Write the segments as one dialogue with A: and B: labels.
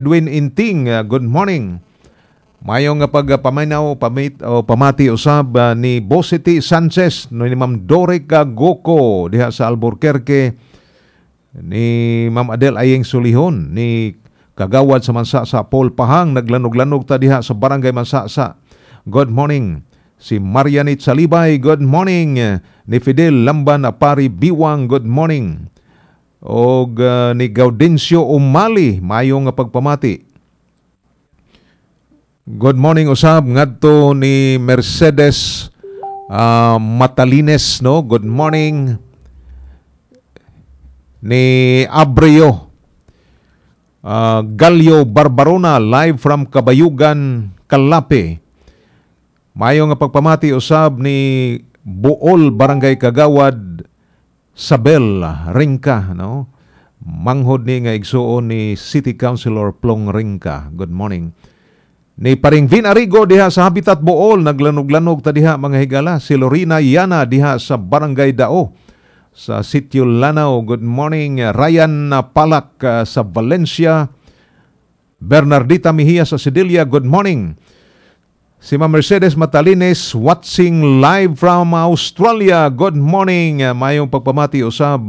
A: Edwin Inting, good morning. Maayong nga pagpaminaw pamit o pamati usab ni Bosity Sanchez, no, ni Ma'am Dorica Goko diha sa Alburquerque, ni Ma'am Adel Ayeng Sulihon, ni Kagawad sa Mansasa Paul Pahang, naglanog-lanog ta diha sa Barangay Mansasa. Good morning. Si Marianit Salibay, good morning. Ni Fidel Lamban Apari Biwang, good morning. Og ni Gaudencio Umali, maayong nga pagpamati. Good morning usab ngadto ni Mercedes Matalines, no. Good morning ni Abreo Galio Barbarona, live from Kabayugan, Calape. Maayo nga pagpamati usab ni Buol Barangay Kagawad Sabel Ringka, no. Manghod ni nga igsuon ni City Councilor Plong Ringka. Good morning. Ni Paring Vin Arigo diha sa Habitat Bool, naglanog-lanog ta diha, mga higala. Si Lorena Yana diha sa Barangay Dao sa Sitio Lanao. Good morning. Ryan Palak sa Valencia. Bernardita Mejia sa Sedilia. Good morning. Si Ma'am Mercedes Matalines, watching live from Australia. Good morning. Mayong pagpamati usab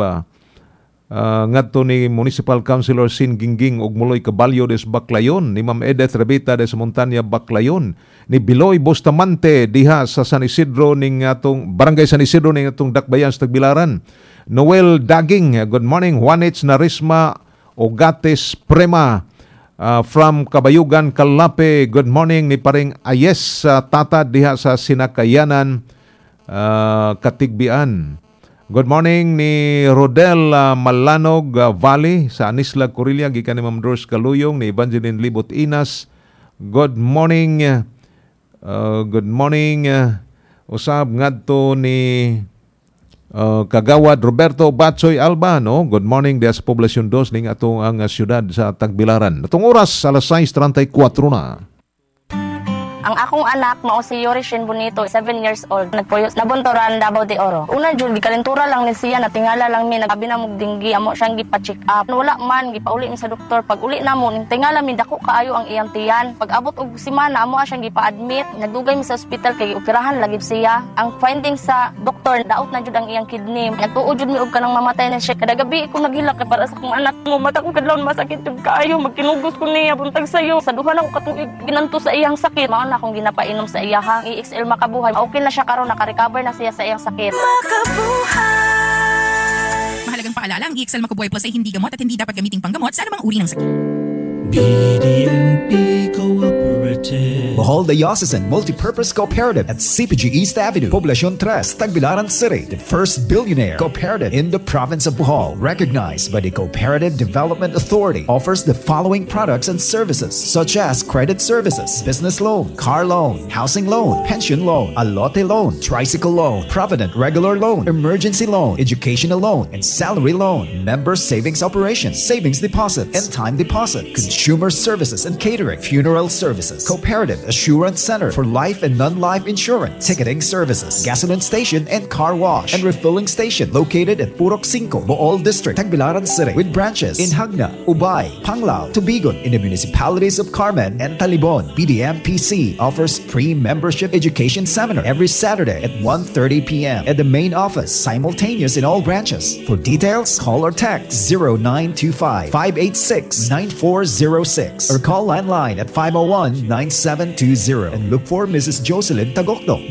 A: ngadto ni Municipal Councilor Sin Gingging ug Muloy Caballo des Baclayon, ni Ma'am Edith Rebita des Montanya Baclayon, ni Biloy Bustamante diha sa San Isidro ning atong Barangay San Isidro ning atong Dakbayan sa Tagbilaran. Noel Daging, good morning. Juanich Narisma Ogates Prema from Kabayugan, Calape. Good morning ni paring Ayes sa Tata diha sa Sinakayanan, Katigbian. Good morning ni Rodel Malanog Valley sa Anisla, Corillia, gikan ni Ma'am Doris Kaluyong, ni Evangeline Libot Inas. Good morning. Good morning usab ngadto ni Kagawad Roberto Batsoy Alba, no? Good morning diha sa Poblacion 2 ning atong ang syudad sa Tagbilaran. Atong oras, alas 6:34 na.
B: Ang akong anak mao si Yorishin Bonito, 7 years old. Nagpuyo sa Nabunturan, Davao de Oro. Una jud, gikalentura lang ni siya, natingala lang mi, nagabi na mog dinggi, amo siyang gipa-check up. Wala man, gipauli mi sa doktor. Pag uli namo, ning tingala mi, dako kaayo ang iyang tiyan. Pag abot og semana, amo siyang gipa-admit. Nagdugay mi sa ospital kay gioperahan lagi siya. Ang finding sa doktor, daot na jud ang iyang kidney. Nagtuo jud mi og kanang mamatay na siya. Kada gabi ko naghilak kay para sa akong anak mo. Mata ko kadlawon masakit jud kaayo, magkinugos ko niya buntag sayo. Sa duha na ko katuig ginanto sa iyang sakit. Mao na akong ginapainom sa iya ha. EXL Makabuhay. Okay na siya karon, naka-recover na siya sa iyang sakit.
C: Mahalagang paalala, ang EXL Makabuhay Plus ay hindi gamot at hindi dapat gamiting panggamot sa anumang uri ng sakit.
D: BDMP Cooperative.
E: Bohol Diocesan Multipurpose Cooperative at CPG East Avenue, Poblacion 3, Tagbilaran City, the first billionaire cooperative in the province of Bohol, recognized by the Cooperative Development Authority, offers the following products and services such as credit services, business loan, car loan, housing loan, pension loan, alote loan, tricycle loan, provident regular loan, emergency loan, educational loan, and salary loan, member savings operations, savings deposits, and time deposits, consumer services and catering, funeral services, cooperative assurance center for life and non-life insurance, ticketing services, gasoline station and car wash, and refilling station located at Purok 5, Bool District, Tagbilaran City, with branches in Jagna, Ubay, Panglao, Tubigon, in the municipalities of Carmen and Talibon. BDMPC offers pre-membership education seminar every Saturday at 1:30 p.m. at the main office, simultaneous in all branches. For details, call or text 0925 586 9406 or call landline at 501 9720 and look for Mrs. Jocelyn Tagokdo.